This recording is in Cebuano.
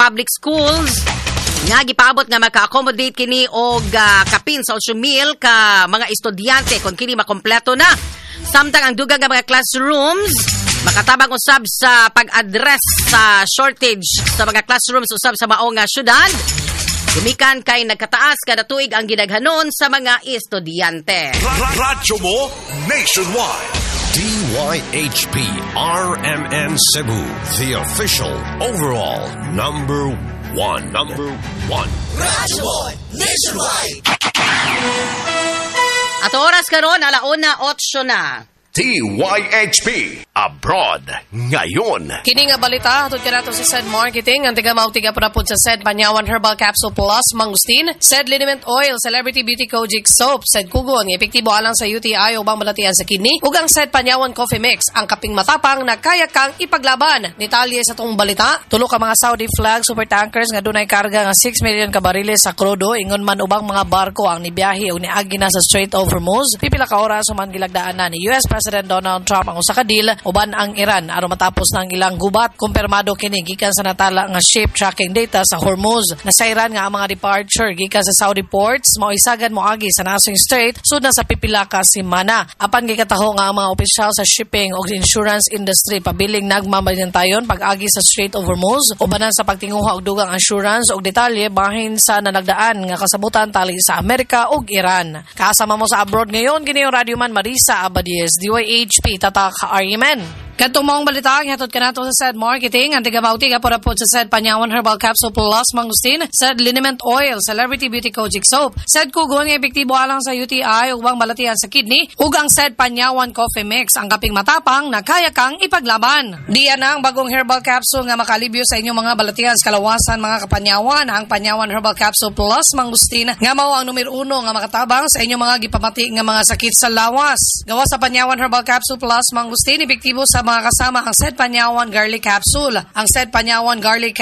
public schools nga gipaabot nga maka-accommodate kini og kapin sa 8,000 ka mga estudyante kon kini makompleto na. Samtang ang dugang nga mga classrooms makatabang usab sa pag-address sa shortage sa mga classrooms usab sa mao nga syudad. Gumikan kay nagkataas kada tuig ang gidaghanon sa mga estudyante. Radyo mo nationwide. DYHP RMN Cebu, the official overall number one. Number one. Radyo mo nationwide. At oras karon, alauna 8 na. DYHP Abroad ngayon. Kini nga balita hatod kanato sa SED Marketing, ang tiga tiga pud sa SED Panyawan Herbal Capsule Plus Mangustin, SED Liniment Oil, Celebrity Beauty Kojic Soap, SED Kugon nga epektibo alang sa UTI ubang balatian sa kidney, ug ang SED Panyawan Coffee Mix, ang kaping matapang na kaya kang ipaglaban. Detalye sa atong balita, tulo ka mga Saudi flag super tankers nga dunay karga nga 6 million ka bariles sa krudo ingon man ubang mga barko ang nibiyahe ug niagi na sa Strait of Hormuz. Pipila ka oras human gilagdaan na ni US President Donald Trump ang usa ka deal uban ang Iran aron matapos na ang ilang gubat. Kumpirmado kini gikan sa natala nga ship tracking data sa Hormuz. Nasayran nga ang mga departure gikan sa Saudi ports mao isagad moagi sa nasong strait sud na sa pipila ka semana. Apan gikataho nga ang mga opisyal sa shipping ug insurance industry pabiling nagmamalintayon pag-agi sa Strait of Hormuz ubanan sa pagtinguha og dugang assurance og detalye bahin sa nanagdaan nga kasabutan tali sa Amerika ug Iran. Kasama mo sa abroad ngayon, kini yung radyoman Marisa Abadies, DYHP Tatak RMN. Kadtong maong balita ang hatod kanato sa SED Marketing, ang tiga-mauti ka po sa SED Panyawan Herbal Capsule Plus Mangustin, SED Liniment Oil, Celebrity Beauty Kojic Soap, SED Kugon nga epektibo alang sa UTI ug ubang balatian sa kidney, ug ang SED Panyawan Coffee Mix, ang kaping matapang na kaya kang ipaglaban. Diya na ang bagong herbal capsule nga makalibyo sa inyong mga balatian sa kalawasan, mga kapanyawan, ang Panyawan Herbal Capsule Plus Mangustin nga mao ang numero uno nga makatabang sa inyong mga gipamati nga mga sakit sa lawas. Gawa sa Panyawan Herbal Capsule Plus Mangustin, epektibo sa mga kasama ang SED Panyawan Garlic Capsule. Ang SED Panyawan Garlic Capsule